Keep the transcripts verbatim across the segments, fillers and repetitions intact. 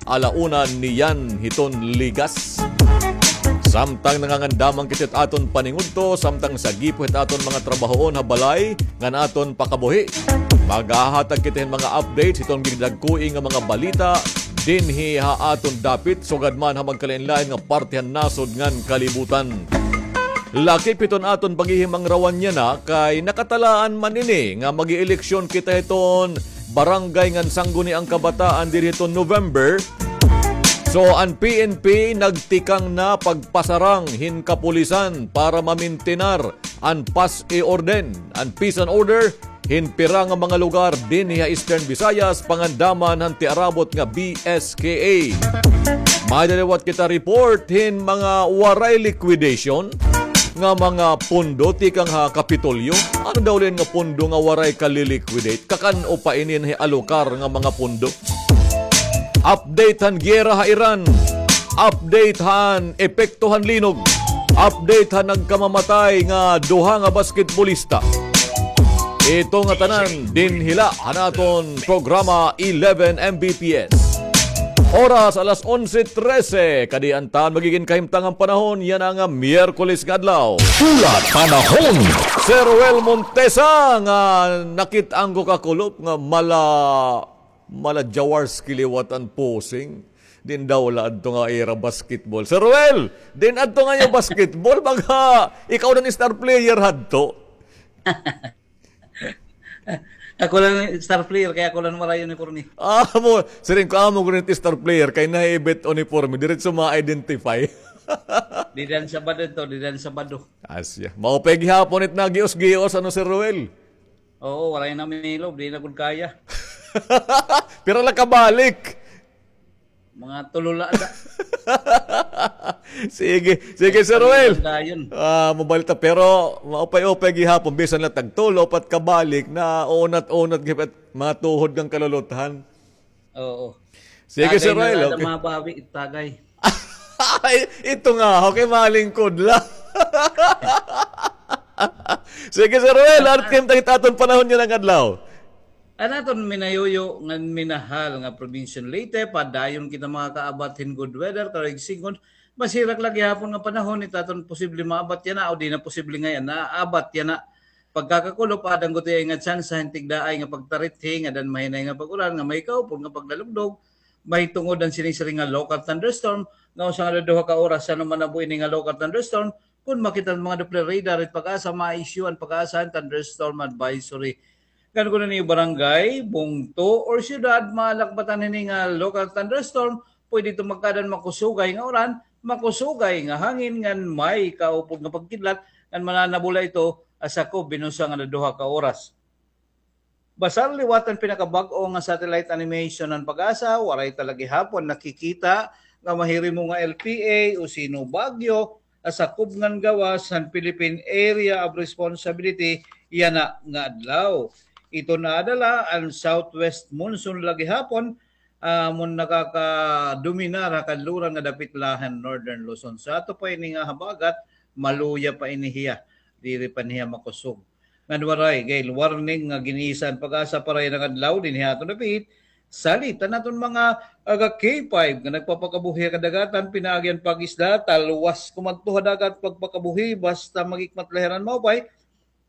Ala una niyan hiton ligas. Samtang nangangandaman kita hit aton paningudto, samtang sagi pa hit aton mga trabahoon ha balay ngan aton pakabuhi. Maghahatag kita hin mga updates hiton gindagkoi nga mga balita dinhi ha aton dapit, sugad man ha magkalain-lain nga parte han nasod ngan kalibutan. Lakip hiton aton paghihimangrawan yana kay nakatalaan man ini nga mag-ieleksyon kita hiton barangay ngan sangguniang kabataan diri hiton November. So, an P N P nagtikang na pagpasarang hin kapulisan para mamintinar an pas e orden, an peace and order, hin pira nga mga lugar dinhi ha Eastern Visayas, pangandaman han tiarabot nga B S K A. May daliwat kita report hin mga waray liquidation nga mga pondo tikang ha Kapitolyo. Ano daw liyan nga pondo nga waray ka-liquidate? Kakan-o pa ini hin alokar nga mga pondo? Update han giyera ha Iran. Update han epekto han linog. Update han nagkamamatay nga duha nga basketbolista. Ito nga tanan dinhi la han aton programa eleven M B P S. Oras alas onse trese, kadi an tan magigin kahimtang han panahon yana nga Miyerkules nga adlaw. Hulat panahon. Sir Ruel Montesa nga nakit-an ko kakulop nga mala Mala Jaworski liwat an posing. Diin daw la adto nga ira basketball. Sir Ruel, diin adto nga iyo basketball? Baga ikaw na an star player hadto. Ako la an star player, kay ako la an waray uniporme. Amo, siring ko amo gud it star player, kay nahiibit uniporme, diretso ma-identify. Dida han Sabado ito, dida han Sabado. Asya. Maupay gihapon it nagios-gios, ano, Sir Ruel? Oo, waray na milob, di na gud kaya. Pira la ka balik? Mga tulo la ada. Sige, sige, Sir Ruel. Dayon. Ah, mabalita, pero maupay-upay gihapon, bisan la tag tulo, upat ka balik, naunat-unat gihapon mga tuhod ngan kaluluthan. Oo. Sige, Sir Ruel, okay. Tagay na la ada mabawi, tagay. Ay, ito nga, okay, malingkod la. Sige, Sir Ruel, ano it aton panahon yana nga adlaw? An aton minayuyo ngan minahal nga probinsya han Leyte, padayon kita makakaabat hin good weather, karuyag sidngon, masirak la gihapon nga panahon it aton posible maabat yana, o di na posible ngay-an, naabat yana. Pagkakakulop, aada gutiay nga tsansa hin tigdaay nga pagtarithi, ngada han mahinay nga pag-ulan nga may kaupod nga paglalugdog, mahitungod an sinisiring nga local thunderstorm, nga usa ngada duha ka oras, san-o man nabo ini nga local thunderstorm, kon makita han mga Doppler radar it PAGASA, ma-issue an PAGASA hin thunderstorm advisory. Ngan kon an iyo barangay, bungto, or syudad, malakbatan hini nga local thunderstorm, pwede ito magkaada hin makusugay nga ulan, makusugay nga hangin, ngan may kaupod nga pagkidlat, ngan mananabo la ito ha sakob hin usa ngada duha ka oras. Basar liwat an pinakabag-o nga satellite animation han PAGASA, waray ta la gihapon nakikita nga mahirimo nga L P A o sino bagyo ha sakob ngan gawas han Philippine Area of Responsibility yana nga adlaw. Ito naada la an southwest monsoon la gihapon, ah, amo an nakakadominar ha kanluran nga dapit la han Northern Luzon. Sa ato pa ini nga habagat, maluya pa ini hiya. Diri pa ini hiya makusog. Ngan waray gale warning nga gin-isa han PAGASA para yana nga adlaw dinhi ha aton dapit. Salit an aton mga taga K five nga nagpapakabuhi ha kadagatan, pinaagi an pag-isda, talwas kumadto ha dagat pagpakabuhi, basta maghikmat la hira hin maupay,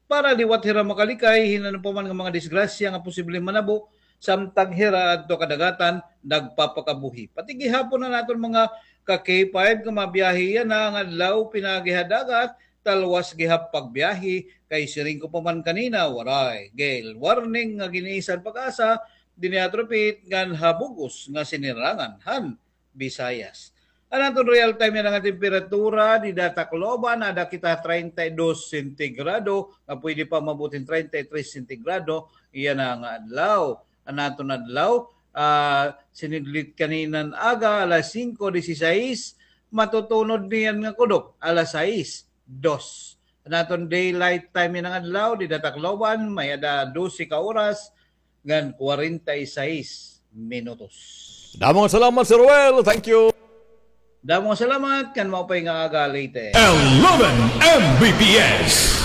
para liwat hira makalikay hin ano pa man nga mga disgrasya nga posibleng manabo, samtang hira adto ha kadagatan nagpapakabuhi. Pati gihapon an aton mga ka K five nga mabiyahe yana nga adlaw pinaagi ha dagat, talwas gihap pagbiyahe, kay siring ko pa man kanina, waray gale warning nga gin-isa han PAGASA dinhi ha aton dapit ngan ha bug-os nga sinirangan han Visayas. An aton real time yana nga temperatura dida ha Tacloban, aada kita treinta y dos sentigrado, nga pwede pa maabot hin treinta y tres sentigrado yana nga adlaw. An aton adlaw, ah, sinidlit kanina nga aga, alas singko dieciséis, matutunod niyan nga kudop, alas sais dos. An aton daylight time yana nga adlaw dida ha Tacloban, may-ada dose ka oras ngan kwarenta y sais minutos. Damo nga salamat, Sir Ruel. Thank you. Damo nga salamat, ngan maupay nga aga, Leyte. Eleven M B P S.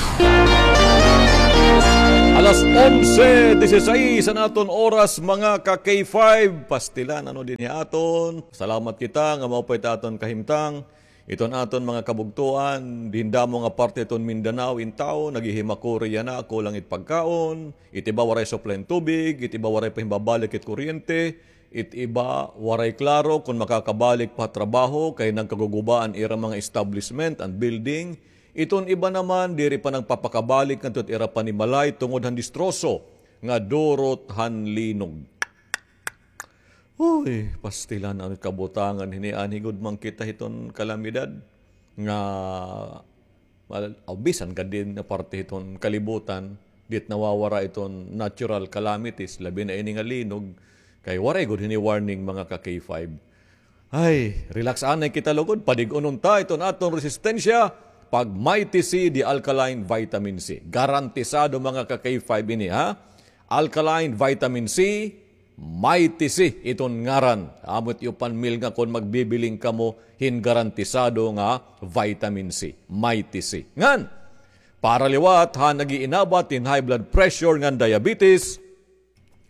Alas onse disisais an aton oras, mga ka-K five. Pastilan, ano, dinhi aton. Salamat kita nga maupay ta aton kahimtang. Iton aton mga kabugtoan, dinhi damo nga parte iton Mindanao, in tawo naghihimakuri yana, kulang it pagkaon, it iba waray supply hin tubig, it iba waray pa himbabalik it kuryente, it iba waray klaro kon makakabalik pa ha trabaho kay nagkaguguba an ira mga establishment, an building. Iton iba naman, diri pa nagpapakabalik ngadto ha ira panimalay tungod han distroso nga durot han linog. Uy, pastilan, ano it kabutangan hini, anhi gud man kita hiton kalamidad nga, mal-, aw, bisan gad dinhi nga parte hiton kalibutan, dit nawawara iton natural calamities, labi na ini nga linog, kay waray gud hini warning, mga ka-K five. Ay, relax anay kita lugod, padig-unon ta iton aton resistensya, pag Mighty C, the alkaline vitamin C. Garantisado, mga ka-K five, ini, ha? Alkaline vitamin C, Mighty C iton ngaran. Amo it iyo panmilnga kon magbibiling kamo hin garantisado nga vitamin C, Mighty C. Ngan, para liwat ha nag-iinabat hin high blood pressure ngan diabetes,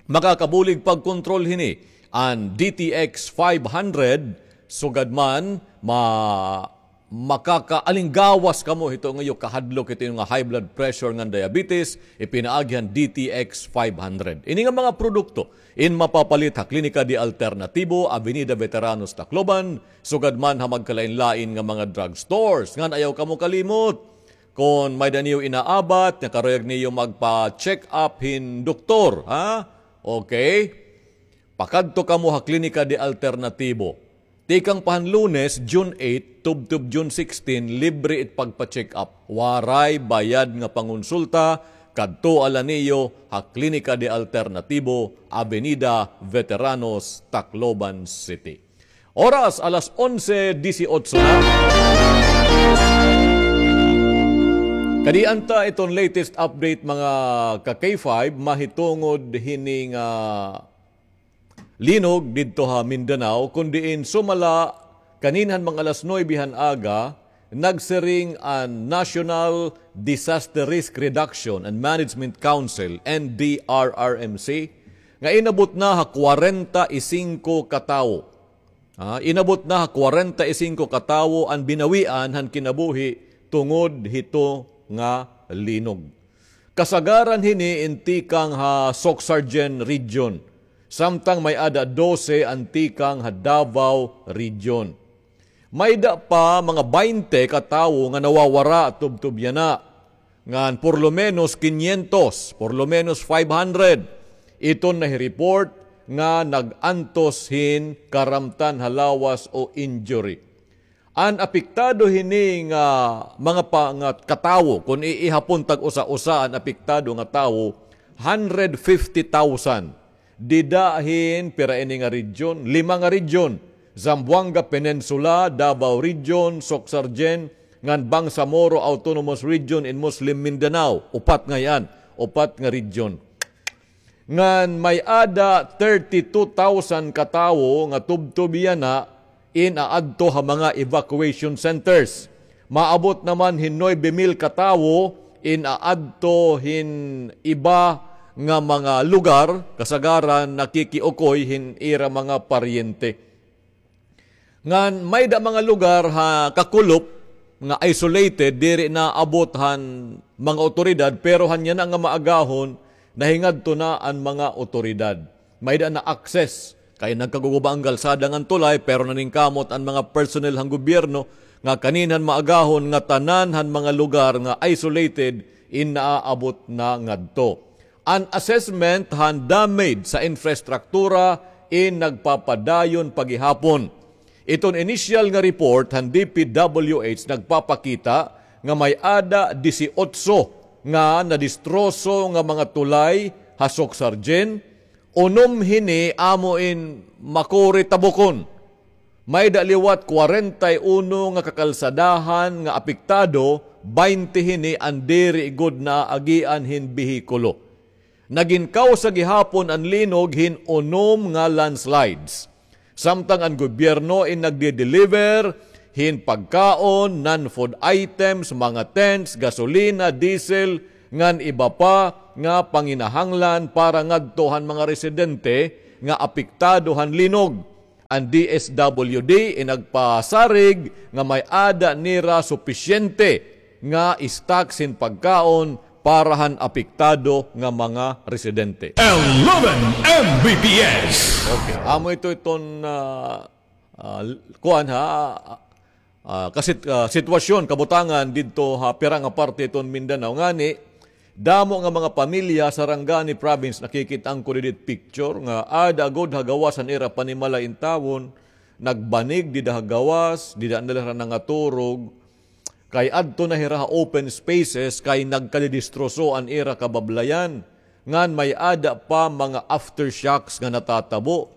makakabulig pagkontrol hini an D T X five hundred, sugad man ma-, makakaalinggawas kamo hito nga iyo kahadlok, hito iyo nga high blood pressure ngan diabetes, ipinaagi han D T X five hundred. Ini nga mga produkto in mapapalit ha Klinika de Alternatibo, Avenida Veteranos, Tacloban, sugad man ha magkalain-lain nga mga drugstores. Ngan ayaw kamo kalimot, kon may-ada niyo inaabat, nga karuyag niyo magpa-check up hin doktor, ha? Okay? Pakadto kamo ha Klinika de Alternatibo. Tikang pa han Lunes, June eight, tubtob June sixteen, libre it pagpa-check up. Waray bayad nga pangonsulta, kadtoa la niyo ha Klinika de Alternatibo, Avenida Veteranos, Tacloban City. Oras, alas onse disiotso na. Kadi anta iton latest update, mga ka-K five, mahitungod hini nga linog didto ha Mindanao, kon diin sumala kanina han mga alas nuebe han aga, nagsiring an National Disaster Risk Reduction and Management Council, N D R R M C, nga inabot na ha kwarenta y singko ka tawo. Ah, inabot na ha kwarenta y singko ka tawo an binawian han kinabuhi tungod hito nga linog. Kasagaran hini in tikang ha Soccsksargen Region, samtang may-ada dose an tikang ha Davao Region. May-ada pa mga baynte ka tawo nga nawawara tubtob yana, ngan por lo menos quinientos, por lo menos five hundred, iton nahi-report nga nag-antos hin karamtan ha lawas o injury. An apektado hini nga mga pa-, nga ka tawo, kon iihapon tag-usa-usa an apektado nga tawo, hundred fifty thousand. Dida hin pira ini nga region? Lima nga region. Zamboanga Peninsula, Davao Region, Soccsksargen, ngan Bangsamoro Autonomous Region in Muslim Mindanao. Upat ngay-an, upat nga region. Ngan may-ada thirty-two thousand ka tawo nga tubtob yana in aadto ha mga evacuation centers. Maabot naman hin nuebe mil ka tawo in aadto hin iba nga mga lugar, kasagaran nakikiukoy hin ira mga paryente. Ngan may-ada mga lugar ha kakulop nga isolated, diri naabot han mga awtoridad, pero han yana nga maagahon, nahingadto na an mga awtoridad. May-ada na-access, kay nagkaguguba an kalsada ngan tulay, pero naningkamot an mga personnel han gobyerno nga kaninhan maagahon nga tanan han mga lugar nga isolated in naaabot na ngadto. An assessment han damage sa infrastruktura in nagpapadayon pa gihapon. Iton initial nga report han D P W H nagpapakita nga may-ada disiotso nga nadistroso nga mga tulay ha Soccsksargen, unom hini amo in makuri tabukon. May-ada liwat kwarenta y uno nga kakalsadahan nga apektado, baynte hini an diri gud naaagian hin behikulo. Nagin kawsa gihapon an linog hin unom nga landslides. Samtang an gobyerno in nagde-deliver hin pagkaon, non-food items, mga tents, gasolina, diesel, ngan iba pa, nga panginahanglan para ngadto han mga residente nga apektado han linog. An D S W D inagpasarig nga may-ada nira supisyente nga stock sin pagkaon para han apektado nga mga residente. Eleven M B P S. Okay, amo ito iton, ah, ah, kuan ha, ah, kasit-, ah, sitwasyon, kabutangan didto ha pira nga parte iton Mindanao. Ngani, damo nga mga pamilya sa Sarangani Province, nakikit-an ko didi picture nga aada gud ha gawas han ira panimalay intawon, nagbanig dida ha gawas, dida na la hira nangaturog. Kay adto na hira ha open spaces, kay nagkadidistroso an ira kabablayan. Ngan may-ada pa mga aftershocks nga natatabo.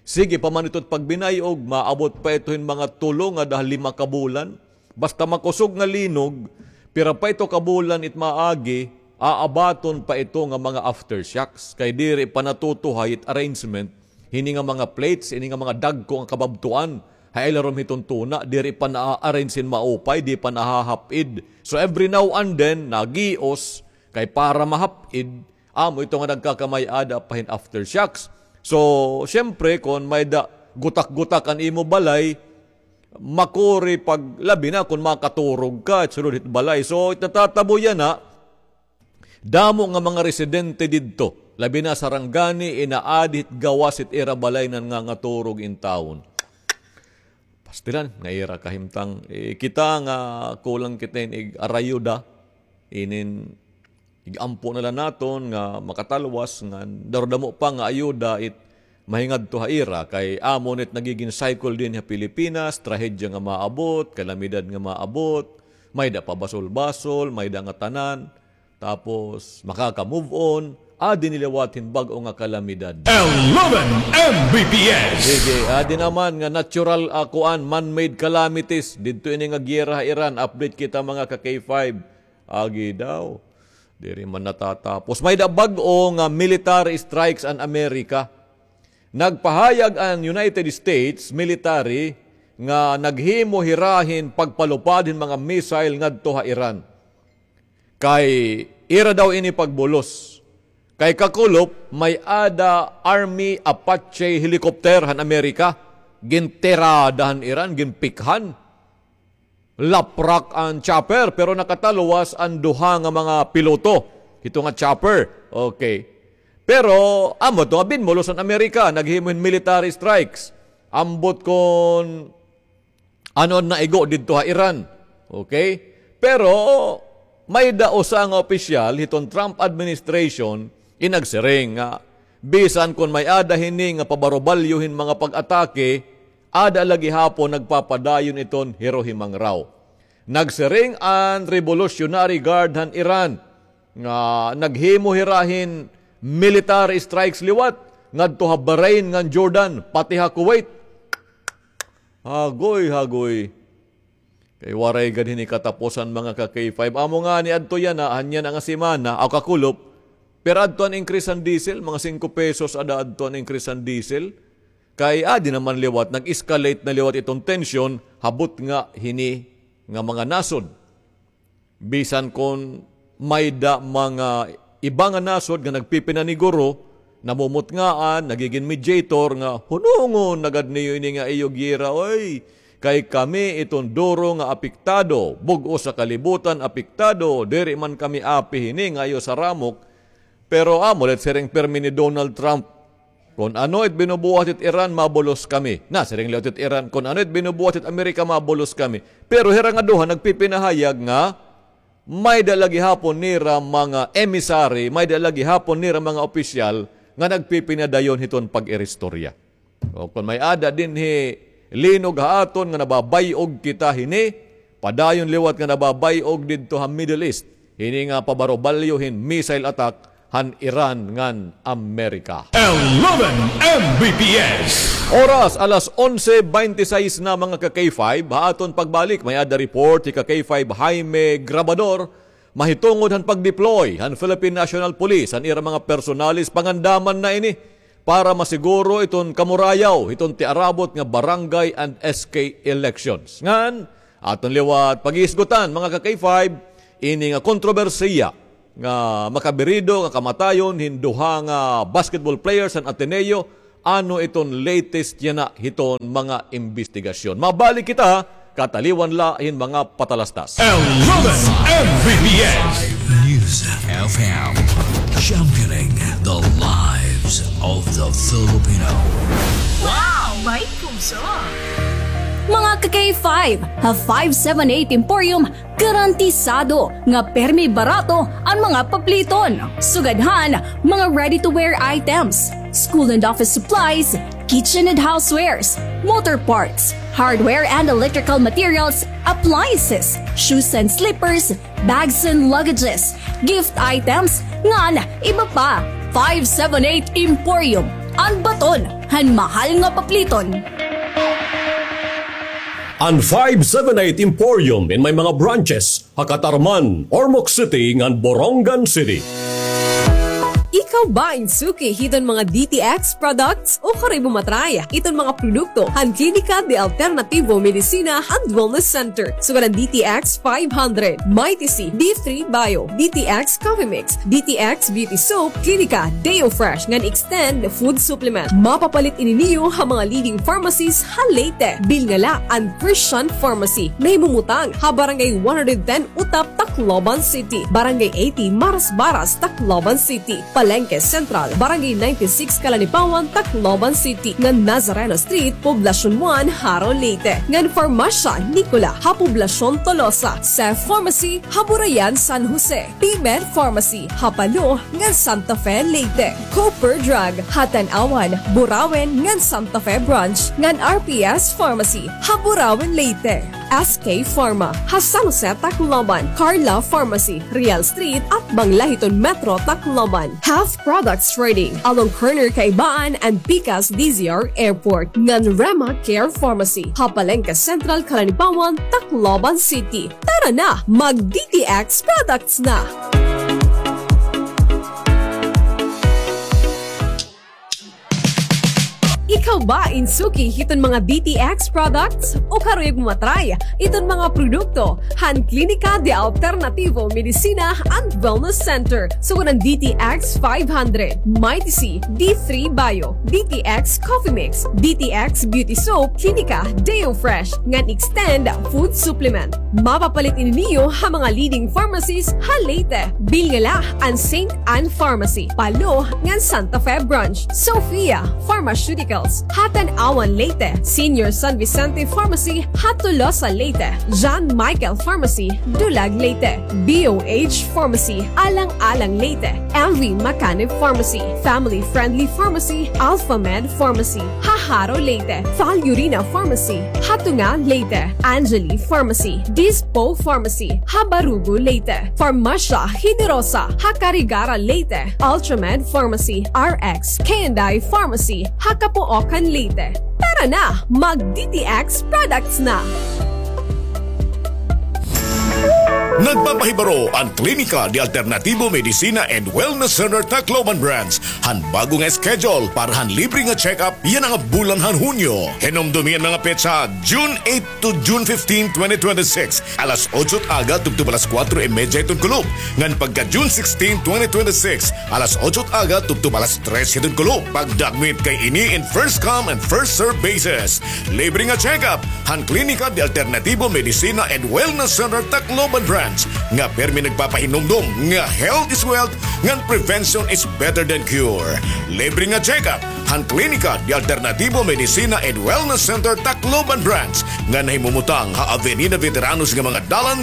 Sige pa man ito it pagbinay-og, maabot pa ito hin mga tulo ngada ha lima ka bulan. Basta makusog nga linog, pira pa ito ka bulan it maagi, aabaton pa ito nga mga aftershocks. Kay diri pa natutuhay it arrangement hini nga mga plates, ini nga mga dagko nga kababtuan ha ilarom hiton tuna, diri pa naa-arrange hin maupay, di pa nahahap-id. So every now and then, nagios, kay para mahap-id, amo ito nga nagkakamay-ada pa hin aftershocks. So, siyempre, kon may-ada gutak-gutak an imo balay, makuri pag, labi na kon makaturog ka, sulod hit balay. So, it natatabo yana, damo nga mga residente didto, labi na Sarangani, inaadi hit gawas hit ira balay nangangaturog intawon. Pastilan, nga ira kahimtang. Eh, kita nga kulang kita hin ig-arayuda, inin ig-ampo na la naton nga makatalwas, ngan daw damo pa nga ayuda it mahingadto ha ira, kay amo nit nagigin cycle dinhi ha Pilipinas, trahedya nga maabot, kalamidad nga maabot, may-ada pabasol-basol, may-ada ngatanan, tapos makaka-move on, adi ni liwat hin bag-o nga kalamidad. Eleven M B P S. Sige, adi naman nga natural, ah, kuan, man-made calamities, didto ini nga giyera ha Iran, update kita mga ka-K five. Agi daw. Diri man natatapos. May-ada bag-o nga military strikes an Amerika. Nagpahayag an United States military nga naghimo hira hin pagpalupad hin mga missile ngadto ha Iran. Kay ira daw ini pagbulos. Kay kakulop, may-ada Army Apache helicopter han Amerika. Gintirada han Iran, ginpikhan. Laprak an chopper, pero nakatalwas an duha nga mga piloto hito nga chopper. Okay. Pero, amo to, binbulos an Amerika, naghimo hin military strikes. Ambot kon ano an naigo didto ha Iran. Okay? Pero, may-ada usa nga opisyal hiton Trump administration, in nagsiring nga, bisan kon may-ada hini nga pabarubalyo hin mga pag-atake, ada la gihapon nagpapadayon iton hirohimangraw. Nagsiring an Revolutionary Guard han Iran nga naghimo hira hin military strikes liwat ngadto ha Bahrain ngan Jordan, pati ha Kuwait. Hagoy, hagoy. Kay waray gad hini katapusan, mga ka-K five. Amo ngani adto yana, han yana nga semana, aw kakulop, pira adto an increase han diesel, mga singko pesos ada adto an increase han diesel. Kay adi naman liwat, nag-escalate na liwat iton tensyon, ha butnga hini nga mga nasod. Bisan kon may-ada mga iba nga nasod nga nagpipinaniguro, namumutngaan, nagigin mediator nga hunongon na gad niyo ini nga iyo giyera, oy. Kay kami iton duro nga apektado, bug-os sa kalibutan apektado, diri man kami api hini nga iyo saramok. Pero amo la it siring pirmi ni Donald Trump, "Kon ano it binubuhat it Iran, mabulos kami." Na, siring liwat it Iran, "Kon ano it binubuhat it Amerika, mabulos kami." Pero hira nga duha nagpipinahayag nga may-ada la gihapon nira mga emissary, may-ada la gihapon nira mga opisyal nga nagpipinadayon hiton pag-iristorya. O kon may-ada dinhi linog ha aton nga nababay-og kita hini, padayon liwat nga nababay-og didto ha Middle East, hini nga pabarubalyo hin missile attack han Iran ngan Amerika. Eleven M B P S. Oras, alas onse bente seis na, mga ka-K five. Ha aton pagbalik, may-ada report hi ka-K five Jaime Grabador mahitungod han pag-deploy han Philippine National Police, han ira mga personalis, pangandaman na ini para masiguro iton kamurayaw hiton tiarabot nga barangay and S K elections. Ngan, aton liwat paghisgutan, mga ka-K five, ini nga kontrobersiya nga makabirido nga kamatayon hin duha nga basketball players han Ateneo. Ano iton latest yana hiton mga imbestigasyon? Mabalik kita, kataliwan la hin mga patalastas. Eleven M V P S News F M, championing the lives of the Filipino. Wow! May puso! Mga ka-K five, ha five seven eight Emporium, garantisado nga permi barato an mga papliton. Sugad han mga ready-to-wear items, school and office supplies, kitchen and housewares, motor parts, hardware and electrical materials, appliances, shoes and slippers, bags and luggages, gift items, ngan iba pa. Five seven eight Emporium, an baton han mahal nga papliton. An five seven eight Emporium in may mga branches ha Catarman, Ormoc City, ngan Borongan City. Ikaw ba in suki hiton mga D T X products? Ukari mo matry iton mga produkto han Klinika de Alternativo Medicina and Wellness Center. Sugad han D T X five hundred, Mighty C, D three Bio, D T X Coffee Mix, D T X Beauty Soap, Klinika Deo Fresh, ngan Extend Food Supplement. Mapapalit ini niyo ha mga leading pharmacies ha Leyte. Bilnga la an Christian Pharmacy, nahimumutang ha Barangay one hundred ten Utap, Tacloban City, Barangay eighty Marasbaras, Tacloban City, Palengke Central, Barangay ninety-six Calanipawan, Tacloban City, ngan Nazareno Street, Poblacion one, Jaro, Leyte, ngan Farmasya Nicola ha Poblacion Tolosa, Seth Pharmacy ha Burayan, San Jose, P-Med Pharmacy ha Palo ngan Santa Fe, Leyte, Cooper Drug ha Tanauan, Burauen ngan Santa Fe Branch, ngan R P S Pharmacy ha Burauen, Leyte, S K Pharma ha San Jose, Tacloban, Carla Pharmacy, Real Street, atbang la hiton Metro Tacloban, Health Products Trading along corner Kaibaan and Pikas D Z R Airport, ngan Rema Care Pharmacy ha Palengke Central, Calanipawan, Tacloban City. Tara na, mag D T X products na! Ikaw ba in suki hiton mga D T X products? O karuyag mo matry iton mga produkto han Klinika de Alternativo Medicina and Wellness Center? Sugad han D T X five hundred, Mighty C, D three Bio, D T X Coffee Mix, D T X Beauty Soap, Klinika Deo Fresh, ngan Extend Food Supplement. Mapapalit ini niyo ha mga leading pharmacies ha Leyte. Bilnga la an Saint Ann Pharmacy, Palo, ngan Santa Fe Branch, Sofia, Pharmaceuticals ha Tanauan, Leyte, Senior San Vicente Pharmacy ha Tolosa, Leyte, John Michael Pharmacy, Dulag, Leyte, B O H Pharmacy, Alang-alang, Leyte, M V Macanib Pharmacy, Family Friendly Pharmacy, Alpha Med Pharmacy ha Jaro, Leyte, Val Urina Pharmacy ha Tunga, Leyte, Angeli Pharmacy, Dispo Pharmacy ha Barugo, Leyte, Farmasya Generosa ha Carigara, Leyte, Ultramed Pharmacy, R X K and I Pharmacy ha Capoocan, Leyte. Tara na, mag D T X products na! Nagpapahibaro an Klinika de Alternativo Medicina and Wellness Center Tacloban Branch han bag-o nga schedule para han libre nga check-up yana nga bulan han Hunyo. Hinumdomi an mga petsa, June eight to June fifteen, twenty twenty-six, alas otso it aga tubtob alas kuwatro y medya hiton kulop, ngan pagka June sixteen, twenty twenty-six, alas otso it aga tubtob alas tres hiton kulop. Pagdakmit kay ini in first come and first serve basis. Libre nga check-up han Klinika de Alternativo Medicina and Wellness Center Tacloban Branch nga permi nagpapahinumdom nga health is wealth ngan prevention is better than cure. Libre nga check-up han Klinika de Alternativo Medicina and Wellness Center Tacloban Branch nga nahimumutang ha Avenida Veteranos nga mga dalan